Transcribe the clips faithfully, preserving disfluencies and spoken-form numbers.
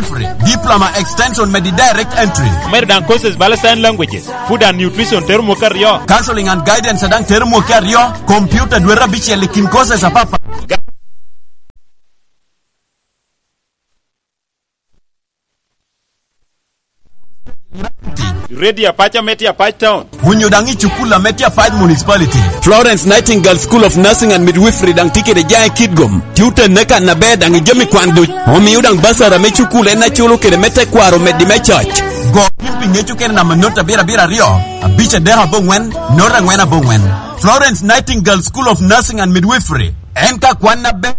Free. Diploma Extension me di Direct Entry. Medo daŋ courses bala Sign Languages, Food and Nutrition tero mwaka aryo. Counseling and Guidance daŋ tero mwaka aryo. Computer dwete abicel i kin courses apapat. Radio Apac ame tye Apac Town. Onyo daŋ i cukul ame tye Apac Municipality. Florence Nightingale School of Nursing and Midwifery daŋ tye kede jaŋ i Kitgum. Tye otenne kan aber daŋ i jami kwan duc. Omio daŋ basara me cukul en aculo kede me tekwaro omeddi me coc. Go piny pi ŋec okene namba not abiro abiro aryo, abic adek aboŋwen, not angwen aboŋwen. Florence Nightingale School of Nursing and Midwifery. En ka kwan aber.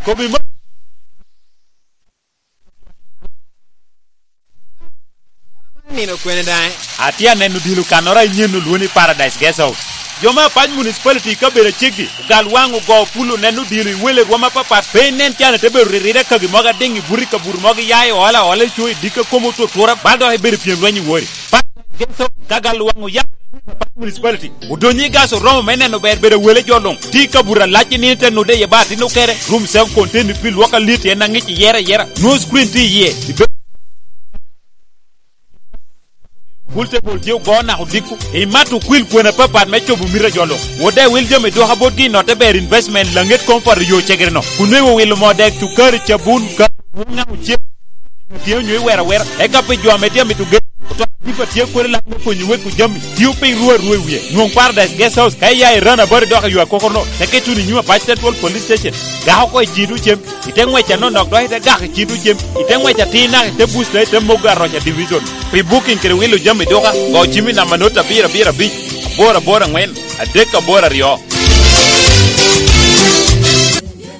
Kobi ma- Nino kwene daŋ? Atye aneno dilo kannoro a inyen olwoni Paradise Guest House. Jo me Apac Municipality i kabedo aceggi, ogal waŋ ogo pul oneno dilo i wele rwom apapat, pe inen can ite bedo riride kagi mogo adiŋ i buto i kabuto mogo iya i ola ola i co i dikka komo otutura, bal dok ibedo pyem lweny i wori. Paradise Guest House, ka gal waŋ oya Municipality. Odonyo i gas oromo me neno ber bedo wele jo luŋ. Tye i kabuto alac i nino te nude iye ba atin okere. Rum self contained pi lwok alit en aŋic iyere ayera. Nwo screen tye iye. Ibe- Pool table tye ogo naka odiko. Imat okwil kwena papat me cobo mita jo luŋ. Wode wil jami dwoka botgi i notte ber investment laŋet comfort yo cegere no. Kun nweŋo wilo moo dek cukari cabun ka wuŋa ocel. Tye onyo iwero awera. Eka pi jo ame tye amito gedo. Oto ajipa tye kwene lak me konyo wek ojami. Tio piny ruu aruu i wie. Nwoŋ Paradise Guest House ka iya i Rana Body dok i yo akokorno. Teke tuno i nyim Apac Central Police Station. Gako oko i cito cem. Ite ŋwec anonok dok ite gako i cito cem. Ite ŋwec atir naka ite buc dok ite mogo aroca division. Pi booking kede wilo jami duka, go cim i namba not abiro abiro abic, aboro aboro aŋwen, adek aboro aryo.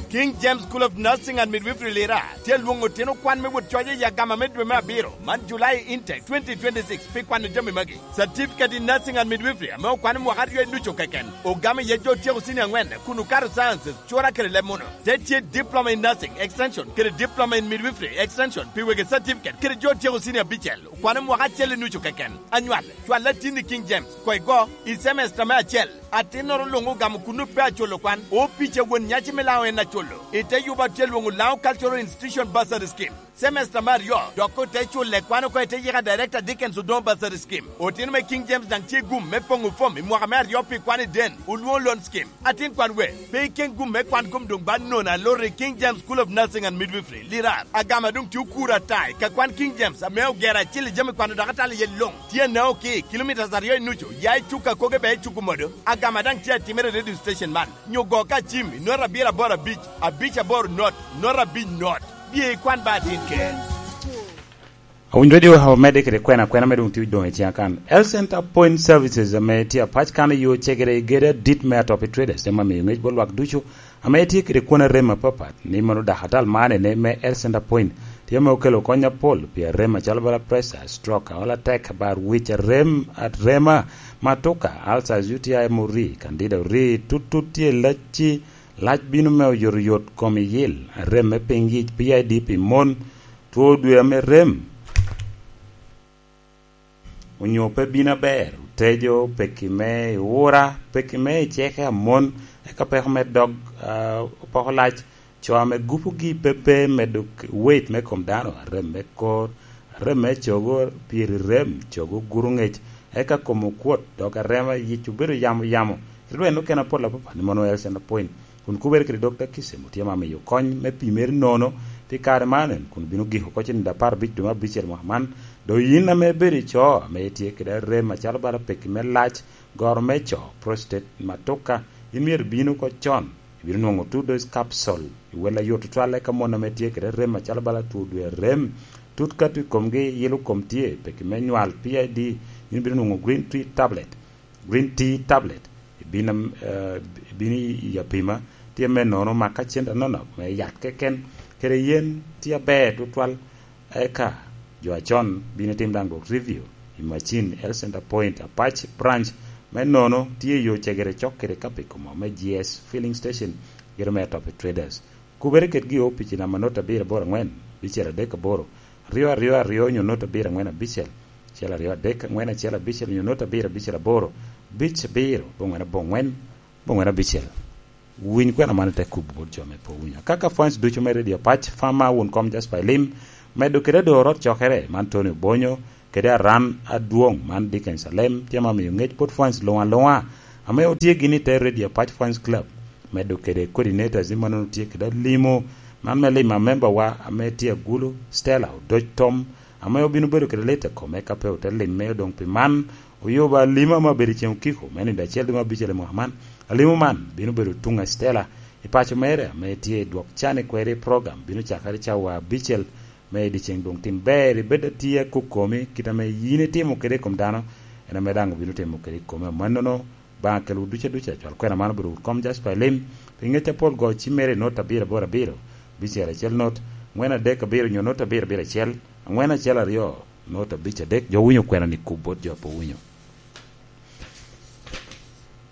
King James School of Nursing and Midwifery Lira tye lwoŋo otino kwan me wot coc i agama me dwe me abiro man July intake twenty twenty-six pi kwano jami magi. Certificate in Nursing and Midwifery ame okwano mwaka aryo i ducu keken. Ogamo iye jo otyeko senior angwen kun okato sciences, cura kede leb muno. Te tye Diploma in Nursing Extension kede Diploma in Midwifery Extension pi wegi certificate kede jo otyeko senior abicel okwano mwaka acel i nucu keken. Anywal, cwal atin i King James, koi go, i semester me acel. Atinnoro luŋ ogamo kun pe aculo kwan. Opic a won nyaci me Laŋo en aculo. I te yuba tye lwoŋo Laŋo Cultural Institution Bursary Scheme. Semester me aryo, dok ote culle kwan oko ite yika Director Dickens Odongo Bursary Scheme. Otino me King James daŋ tye gum me poŋo fom i mwaka me aryo pi kwan i den, olwoŋo loan scheme. Atin kwan we, pe iken gum me kwan kom doŋ ba nono aloro i King James School of Nursing and Midwifery, Lirar. Agama doŋ tye okuro ata i ka kwan King James ame ogero acil i jami kwano dok atalo iye luŋ. Tye anao ki kilomitas aryo i nucu, ya i cuk akoge be i cuk omodo. Agama daŋ tye atimere i radio station man. Nyo go ka cim i not abiro aboro abic, abic aboro not, not abic not. Bye ikwan ba atin ker. Awiny Radio omedde kede kwena kwena me doŋ tye doŋ i ciŋa kan. Health Center Point Services ame tye apac kan i yo cegere i gedo adit me Atopi Traders ema miyo ŋec bot lwak ducu ame tye kede kwon arem apapat, ni mono dakatal man ene me Health Center Point tye ame okelo kony apol pi arem acalo bala pressure, stroke, aol atek, bar wic, arem, arema, matuka, ulcers, U T I, M O R I, candida, O R I, tut tut tye lacci, lac bino me oyotoyot, kom iyil, arem me piny yic, P I D pi mon, two dwe ame rem onyo pe bino aber, otejo, peki me iwura, peki me iceke amon, eka peko me dog, ah, opoko lac, co ame gupogi pe pe medo k-, weight me kom dano, arem me kor, arem me cogo, pyeri rem, cogo guro ŋec, eka kom okwot, dok arema yic obedo yamo yamo. Kit lweny okene apol apapat ni mono L C N point. Kun kubere kede Dokta Kisem otye ma miyo kony me pimere nono pi kare man, kun bino giko oko cen apar abic dwe me abicel mwaka man. Doŋ yin ame ibedo i co ame itye kede rem acalo bala peki me lac, goro me co, prostate, matuka, in myero ibin oko con. Ibino nwoŋo two dose capsule i wel ayot tutwal, eka mon ame tye kede rem acalo bala two dwe rem, tut kato i komgi, yilo kom tye, peki me nywal, P I D, in ibino nwoŋo green tea tablet. Green tea tablet, ibino, eh, ibino i apima, tye me nono maka cente anonok me yat keken, kede yen tye aber tutwal. Eka jo acon bino tim daŋ dwok review i macin Health Center Point Apac Branch me nono tye i yo cegere cok kede Kapikomo me G S Filling Station, gedo me Atopi Traders. Kubere kedgi i opici namba not abiro aboro angwen, bicel adek aboro, aryo aryo aryo onyo not abiro angwen abicel, acel aryo adek angwen acel abicel onyo not abiro abicel aboro, bic abiro, bongwen abongwen, bongwen abicel. Winy kwena man ite kubo bot jo me po winyo. Kaka fans ducu me Radio Pac, Fama wun kom Jasper Elim, medo kede adoro cokere man Tony Obonyo, kede aran adwoŋ man Dickens Alem, tye ma miyo ŋec bot fans luŋ aluŋa, ame otye gini te Radio Pac Fans Club, medo kede coordinators ni mannono tye kede alimo, man me limo amembawa ame tye agulu, Stella Odoc Tom, ame obino bedo kede lit i kome ka pe ote limme doŋ pi man, oyubo alimo ame obedo i ceŋ okiko, me nino acel doŋ abicel i mwaka man. Alimo man bino bedo tuŋ a Stella i paco mere ame tye i dwok can i kweri program, bino cakere cawa abicel me i dyeceŋ doŋ tim ber, ibed atye akok komi, kit ame yin itimo kede i kom dano, en ame daŋ obino timo kede i komi. Amannono, Obaŋa kelwu duc aduca, cwal kwena man obedo wut kom Jasper Elim, pi ŋec apol go ci mere i not abiro aboro abiro, bicel acel not, ŋwen adek abiro nyo not abiro abiro acel, aŋwen acel aryo, not abic adek, jo winyo kwena ni kub bot jo pe winyo.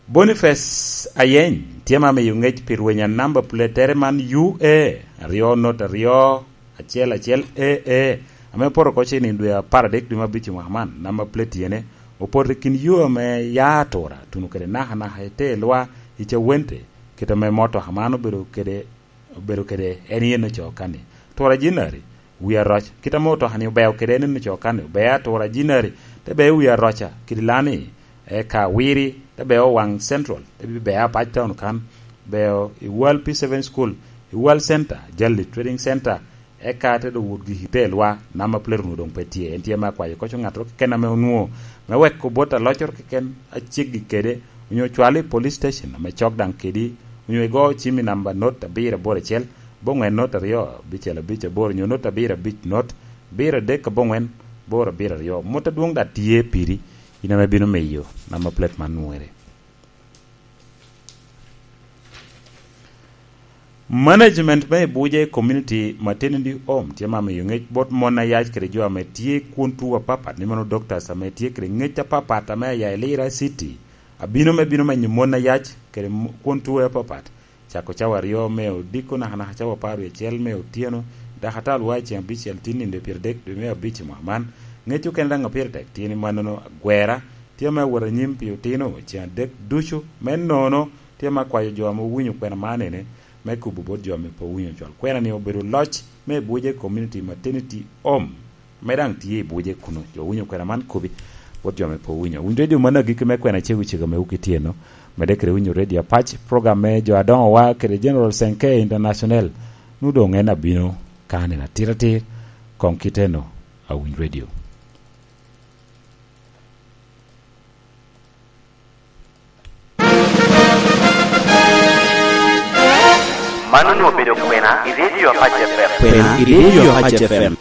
Boniface Ayeny tye ma miyo ŋec pi rwenya namba pletere man U A aryo not aryo, acel acel A A, ame opoto oko cen i dwe apar adek dwe me abic i mwaka man. Namba plate ene opoto i kin yo ame ya atura tuno kede naka naka i te lwa i Cawente, kit ame motoka man obedo kede, obedo kede en yen ocoo kani. Tura jinari, wi aroc, kit ame otoka ni obeo kede en yen ocoo kani, obeo atura jinari, te beo wi aroca kidi lani, eka Wiri, te beo Waŋ Central, te bibeo Apac Town kan, beo i Wal P seven School, i Wal Center, Jali Trading Center, eka te doŋ wot giki te lwa, namba plate onwoŋo doŋ pe tye. En tye me akwayo koco ŋattoro keken ame onwoŋo, me wek obot aloccoro keken a ceggi kede, onyo cwal i police station ame cok daŋ kedi, onyo igo cim i namba not abiro aboro acel, boŋwen not aryo, abicel abic aboro, onyo not abiro abic not, abiro adek aboŋwen, aboro abiro aryo. Mot adwoŋ daŋ tye piri, in ame bino miyo namba plate man nwere. Management me Ibuje Community Maternity Home tye ma miyo ŋec bot mon ayac kede jo ame tye kwon tuo apapat, ni mano doctors ame tye kede ŋec apapat ame aya i Lira City, abino me bino menyo mon ayac kede mo-, kwon tuo apapat. Cako cawa aryo me odiko naka naka cawa apar wie acel me otyeno, dakatal wa i ceŋ abicel tin nino dwe pyeradek dwe me abic i mwaka man. Ŋec okene daŋ a pire tek tye ni mannono agwera tye ame awot anyim pi otino ceŋ adek ducu. Me nono, tye ame akwayo jo ame owinyo kwena man ene me kubo bot jo ame pe owinyo cwal kwena ni obedo loc me Ibuje Community Maternity Home. Ame daŋ tye i Ibuje kuno. Jo winyo kwena man kobi bot jo ame pe owinyo. Winy redio man agikki me kwena cego cego ame wuki tye no. Medde kede winyo redio Apac, program me jo adoŋowa kede General Senke International. Nu doŋ en abino ka nino atir atir, koŋ kite no, awiny redio. Man onwoŋo obedo kwena i redio Apac F M. Kwena i redio Apac F M.